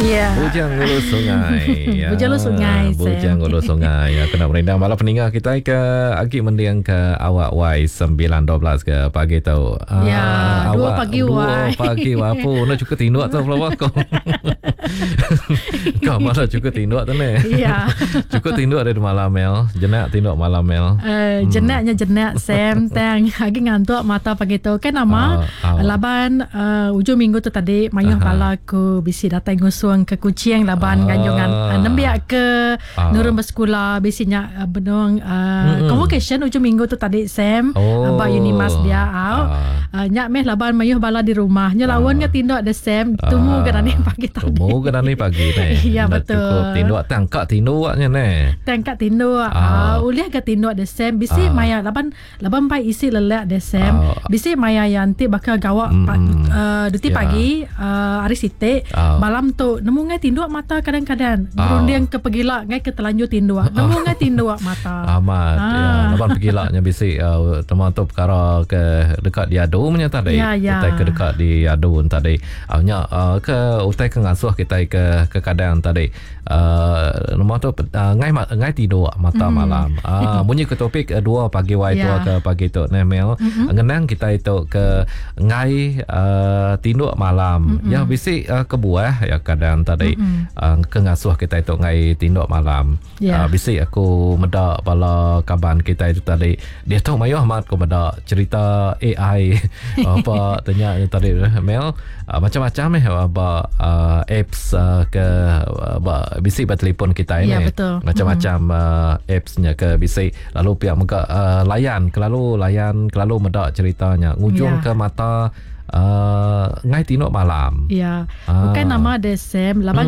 Ya. Bujang Ulu Sungai. Ya. Bujang Ulu Sungai, Sam. Bujang Ulu Sungai. Ya, kena merindang bala peninga kita ke agi mending ke awak Y 9.12 ke pagi tu. Ah, Ya, dua awak pagi dua Y. pagi Y. Apu, nak cukup tinduk tu pelawak kau. Kau malah cukup tinduk tu ni. Ya. Cukup tinduk dari malam Mel. Jenak tinduk malam Mel. Jenaknya jenak Sam tang agi ngantuk mata pagi tu kan nama Ah, ah. laban ujung minggu tu tadi mayuh bala ku bisi datai ngusung ke Kuching laban nganjungan nembiak ke nurun bersekula bisi nya benung convocation ujung minggu tu tadi Sam Oh. ba Unimas dia au. Nya meh laban mayuh bala di rumah. Nya lawan ke tinduk de Sam tumu ke nani pagi tadi. Tumu ke nani pagi ni. Ya, Dah betul. Cukup tinduk tangkak tinduknya ni. Tangkak tinduk. Ulih ke tinduk de Sam bisi maya laban laban pai isi lelak de Sam. Bisi maya yang ti bakal gawak duti pagi hari siti malam tu nemu ngai tinduk mata kadang-kadang. Berunding ke pegila ngai ke telanjur tinduk. Nemu ngai tinduk mata. Amat ya laban pegilanya bisi teman tu perkara ke dekat diadu punya tadi. Ya, ya. Utai ke dekat diadu tadi. Nya ke utai ke ngasuh kita ke ke kadang tadi. Nama tu ngai ngai tidur mata malam. Bunyi ke topik 2 pagi wai tua ke pagi tu ne Mel. Ngenang kita itu ke ngai tinduk malam. Ya bisi kebuah ya kadang tadi ke ngasuh kita itu ngai tinduk malam. Bisi aku meda bala kaban kita itu tadi. Dia tu mayuh amat aku meda cerita AI apa tanya tadi Mel macam-macam ba apps ke ba bisi ba telefon kita ini. Ya, betul. Macam-macam appsnya ke bisi lalu pihak mega layan kelalu layan kelalu meda ceritanya ngujung ke mata ngai tinduk malam. Ya. Bukan nama dia Sam laban.